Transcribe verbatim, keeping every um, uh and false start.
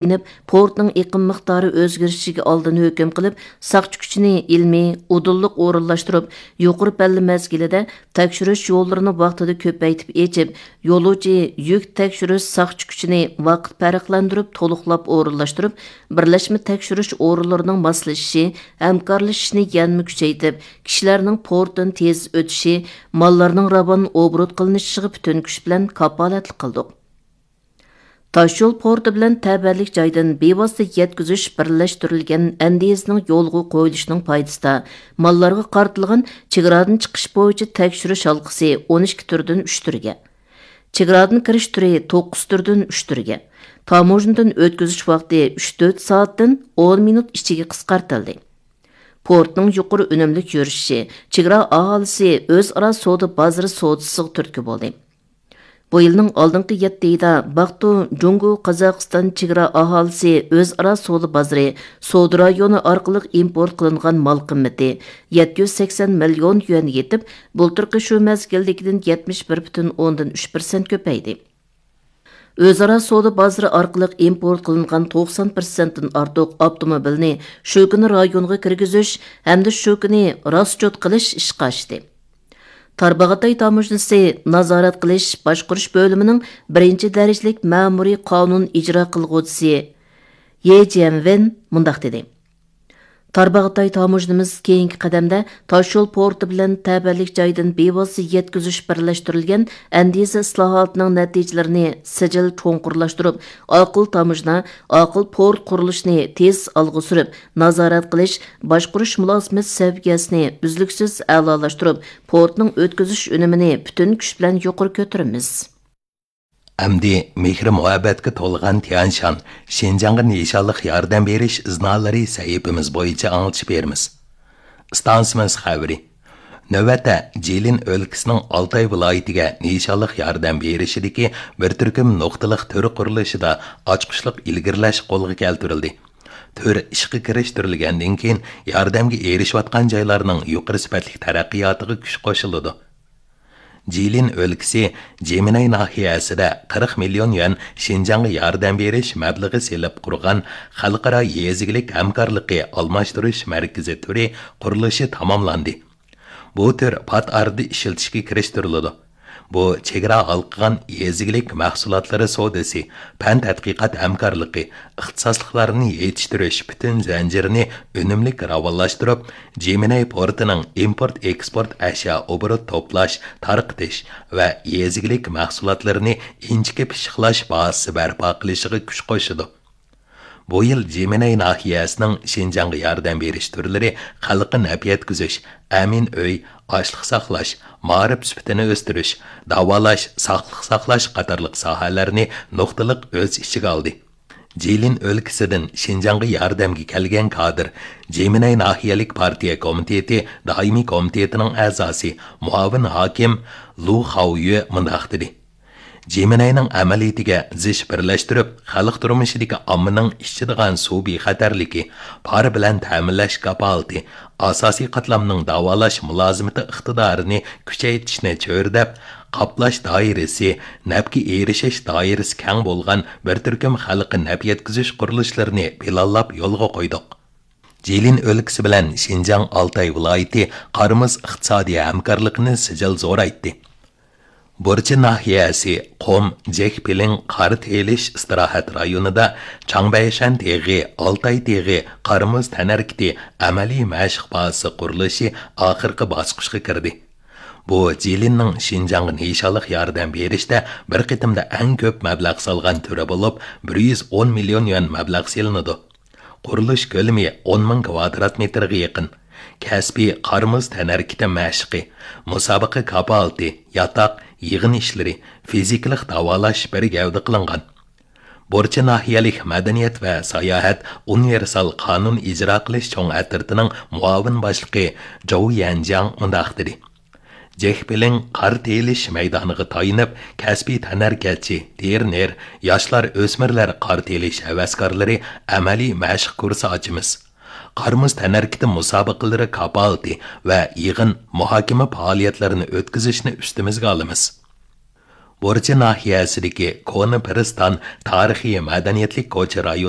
ئېلىنىپ، پورتنىڭ ئېقىم مىقدارى ئۆزگىرىشىگە ئالدىن ھۆكۈم قىلىپ، ساقچى كۈچىنى ئىلمىي، ئۇدۇللۇق ئورۇنلاشتۇرۇپ، يۇقىرى پەللە مەزگىلىدە تەكشۈرۈش يوللىرىنى ۋاقتىدا كۆپەيتىپ ئېچىپ، يولۇچى، يۈك تەكشۈرۈش ساقچى كۈچىنى ۋاقىت پەرقلەندۈرۈپ، تولۇقلاپ ئورۇنلاشتۇرۇپ، بىرلەشمە تەكشۈرۈش ئورۇنلىرىنىڭ ماسلىشىشى، ھەمكارلىشىشىنى يەنىمۇ كۈچەيتىپ، كىشىلەرنىڭ پورتتىن تېز ئۆتۈشى، ماللارنىڭ راۋان ئوبوروت قىلىنىشىغا پۈتۈن كۈچ بىلەن كاپالەتلىك قىلدۇق. تاشيول پورتى بىلەن تەۋەلىك جايدىن بىۋاسىتە يەتكۈزۈش بىرلەشتۈرۈلگەن ئەندىزىنىڭ يولغا قويۇلۇشىنىڭ پايدىسىدا، ماللارغا قارىتىلغان چېگرادىن چىقىش بويىچە تەكشۈرۈش ھالقىسى ئون ئىككى تۈردىن ئۈچ تۈرگە، چېگرادىن كىرىش تۈرى توققۇز تۈردىن ئۈچ تۈرگە، تاموژنىدىن ئۆتكۈزۈش ۋاقتى ئۈچ تۆت سائەتتىن ئون مىنۇت ئىچىگە قىسقارتىلدى. پورتنىڭ يۇقىرى ئۈنۈملۈك يۈرۈشۈشى چېگرا ئاھالىسى ئۆزئارا سودا بازىرى سودىسىغا تۈرتكە بولدى. بۇ يىلنىڭ ئالدىنقى يەتتە ئايىدا باقتۇ جۇڭگو قازاقىستان چېگرا ئاھالىسى ئۆزئارا سودا بازىرى سودا رايونى ئارقىلىق ئىمپورت قىلىنغان مال قىممىتى يەتتە يۈز سەكسەن مىليون يۈەنگە يېتىپ، بۇلتۇرقى شۇ مەزگىلدىكىدىن يەتمىش بىر پۈتۈن ئوندىن ئۈچ پىرسەنت كۆپەيدى. ئۆزئارا سودا بازىرى ئارقىلىق ئىمپورت قىلىنغان توقسان پىرسەنتتىن ئارتۇق ئاپتوموبىلنى شۇ كۈنى رايونغا كىرگۈزۈش ھەمدە شۇ كۈنى راسچوت قىلىش ئىشقا ئاشتى. تارباغاتاي تاموژنىسى نازارەت قىلىش باشقۇرۇش بۆلۈمىنىڭ بىرىنچى دەرىجىلىك مەمۇرىي قانۇن ئىجرا قىلغۇچىسى يې جيەنۋېن مۇنداق دېدى: تارباغاتاي تاموژنىمىز كېيىنكى قەدەمدە تاشيول پورتى بىلەن تەۋەلىك جايدىن بىۋاسىتە يەتكۈزۈش بىرلەشتۈرۈلگەن ئەندىزە ئىسلاھاتىنىڭ نەتىجىلىرىنى سىجىل چوڭقۇرلاشتۇرۇپ، ئاقىل تاموژنا، ئاقىل پورت قۇرۇلۇشىنى تېز ئالغا سۈرۈپ، نازارەت قىلىش، باشقۇرۇش مۇلازىمەت سەۋىيەسىنى ئۈزلۈكسىز ئەلالاشتۇرۇپ، پورتنىڭ ئۆتكۈزۈش ئۈنۈمىنى پۈتۈن كۈچ بىلەن يۇقىرى كۆتۈرىمىز. ئەمدى مېھرى مۇھەببەتكە تولغان تيەنشان، شىنجاڭغا نىشانلىق ياردەم بېرىش ئىزنالىرى سەھىپىمىز بويىچە ئاڭلىتىش بېرىمىز. ئىستانسىمىز خەۋىرى. نۆۋەتتە، جىلىن ئۆلكىسىنىڭ ئالتاي ۋىلايىتىگە نىشانلىق ياردەم بېرىشىدىكى بىر تۈركۈم نۇقتىلىق تۈر قۇرۇلۇشىدا ئاچقۇچلۇق ئىلگىرىلەش قولغا كەلتۈرۈلدى. تۈر ئىشقا كىرىشتۈرۈلگەندىن كېيىن، ياردەمگە ئېرىشىۋاتقان جايلارنىڭ يۇقىرى سۈپەتلىك تەرەققىياتىغا كۈچ قوشۇلىدۇ. جىلىن ئۆلكىسى جىمىنەي ناھىيەسىدە قىرىق مىليون يۈەن شىنجاڭغا ياردەم بېرىش مەبلىغى سېلىپ قۇرغان خەلقئارا يېزا ئىگىلىك ھەمكارلىقى ئالماشتۇرۇش مەركىزى تۈرى قۇرۇلۇشى تاماملاندى. بۇ تۈر پات ئارىدا ئىشلىتىشكە كىرىشتۈرۈلىدۇ. بۇ چېگرا ھالقىغان يېزا ئىگىلىك مەھسۇلاتلىرى سودىسى، پەن تەتقىقات ھەمكارلىقى، ئىختىساسلىقلارنى يېتىشتۈرۈش پۈتۈن زەنجىرىنى ئۈنۈملۈك راۋانلاشتۇرۇپ، جىمىنەي پورتىنىڭ ئىمپورت ئېكسپورت ئەشيا ئوبوروت توپلاش، تارقىتىش ۋە يېزا ئىگىلىك مەھسۇلاتلىرىنى ئىنچىكە پىششىقلاش بازىسى بەرپا قىلىشىغا كۈچ قوشىدۇ. بۇ يىل جىمىنەي ناھىيەسىنىڭ شىنجاڭغا ياردەم بېرىش تۈرلىرى خەلققە نەپ يەتكۈزۈش، ئەمىن ئۆي، ئاشلىق ساقلاش، مائارىپ سۈپىتىنى ئۆستۈرۈش، داۋالاش، ساقلىق ساقلاش قاتارلىق ساھەلەرنى نۇقتىلىق ئۆز ئىچىگە ئالدى. جىلىن ئۆلكىسىدىن شىنجاڭغا ياردەمگە كەلگەن كادىر، جىمىنەي ناھىيەلىك پارتىيە كومىتېتى دائىمىي كومىتېتىنىڭ ئەزاسى، مۇئاۋىن ھاكىم لۇ خاۋيۈ مۇنداق دېدى: جىمىنەينىڭ ئەمەلىيىتىگە زىچ بىرلەشتۈرۈپ، خەلق تۇرمۇشىدىكى ئاممىنىڭ ئىچىدىغان سۇ بىخەتەرلىكى، پار بىلەن تەمىنلەش كاپالىتى، ئاساسىي قاتلامنىڭ داۋالاش مۇلازىمىتى ئىقتىدارىنى كۈچەيتىشنى چۆرىدەپ، قاپلاش دائىرىسى، نەپكە ئېرىشىش دائىرىسى كەڭ بولغان بىر تۈركۈم خەلققە نەپ يەتكۈزۈش قۇرۇلۇشلىرىنى پىلانلاپ يولغا قويدۇق. جىلىن ئۆلكىسى بىلەن شىنجاڭ ئالتاي ۋىلايىتى قار-مۇز ئىقتىسادىي ھەمكارلىقىنى سىجىل زورايتتى. بۇرچى ناھىيەسى قۇم جېكپىلىڭ قار تېيىلىش ئىستىراھەت رايونىدا چاڭبەيشەن تېغى، ئالتاي تېغى قار-مۇز تەنھەرىكىتى ئەمەلىي مەشىق بازىسى قۇرۇلۇشى ئاخىرقى باسقۇچقا كىردى. بۇ جىلىننىڭ شىنجاڭغا نىشانلىق ياردەم بېرىشتە بىر قېتىمدا ئەڭ كۆپ مەبلەغ سالغان تۈرى بولۇپ، بىر يۈز ئون مىليون يۈەن مەبلەغ سېلىنىدۇ. قۇرۇلۇش كۆلىمى ئون مىڭ كۋادرات مېتىرغا يېقىن. كەسپىي قار-مۇز تەنھەرىكىتى مەشىقى، مۇسابىقە كاپالىتى، ياتاق، يىغىن ئىشلىرى، فىزىكىلىق داۋالاش بىر گەۋدە قىلىنغان. بۇرچى ناھىيەلىك مەدەنىيەت ۋە ساياھەت ئۇنىۋېرسال قانۇن ئىجرا قىلىش چوڭ ئەترىتىنىڭ مۇئاۋىن باشلىقى جوۋ يەنجياڭ مۇنداق دېدى: جېكپىلىڭ قار تېيىلىش مەيدانىغا تايىنىپ، كەسپىي تەنھەرىكەتچى، تىرېنېر، ياشلار، ئۆسمۈرلەر قار تېيىلىش ھەۋەسكارلىرى ئەمەلىي مەشىق كۇرسى ئاچىمىز. قار-مۇز تەنھەرىكىتى مۇسابىقىلىرى كاپالىتى ۋە يىغىن، مۇھاكىمە پائالىيەتلىرىنى ئۆتكۈزۈشنى ئۈستىمىزگە ئالىمىز. بۇرچى ناھىيەسىدىكى كونا پىرىستان تارىخىي مەدەنىيەتلىك كوچا رايونى